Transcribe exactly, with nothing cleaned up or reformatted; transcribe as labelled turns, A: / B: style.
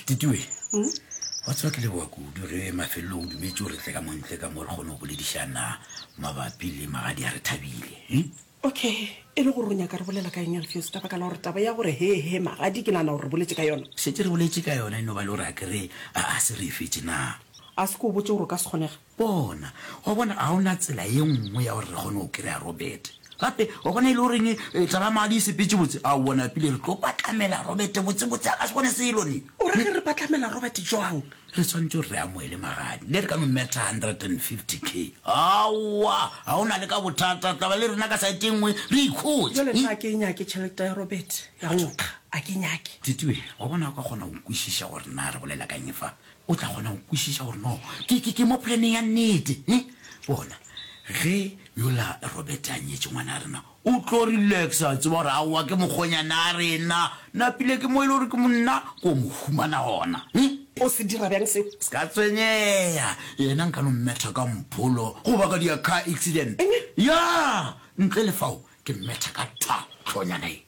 A: Titiwe, wa tseba ke leboga kudu ge mafelelong o dumetše gore tle ka mo ntle ka mo re kgone go boledišana mabapi le magadi a re thabile. Hm?
B: Okay, e le gore o nyaka re bolela ka eng Alfios? Ka baka la gore taba ya gore he he magadi ke nagana gore re boletše ka yona.
A: Šetše re boletše ka yona, e no ba le gore a ke re a a se re e fetše na?
B: A se ke o botše gore o ka se kgonege.
A: Bona, wa bona, ga o na tsela ye nngwe ya gore re kgone go kry-a Robert. Gape, wa bona e le goreng eh, taba ya magadi e sepetše botse? Aowa, napile re tlo patlamela Robert botsebotse, a ka se bone selo ne.
B: O ra ge re patlamela Robert jwang?
A: Re swanetše gore re amoele magadi, le re ka no metha hundred and fifty K. Aowa, ga o na le ka bothata, taba le rena ka saete e nngwe re ikhotše.
B: Jwale nna a ke e nyake tšhelete ya Robert ya go nkga, a ke e nyake.
A: Titiwe, wa bona o ka kgona go kwešiša gore na re bolela ka eng fa? O tla kgona go kwešiša gore no ke, ke, ke mo planeng ya nnete. He? Bona, ge yola Robert a nyetše ngwana rena, o tlo relaxa, a tseba gore aowa ke mokgonyana a rena. Napile ke mo e le gore ke monna, ko mo humana gona. He?
B: O se dira bjang seo?
A: Se ka tshwenyega. Yena nka no mmetha ka mpholo goba ka dia car accident.
B: Eng?
A: Ya! Ntle le fao, ke mmetha ka thwa, hlonyana ye.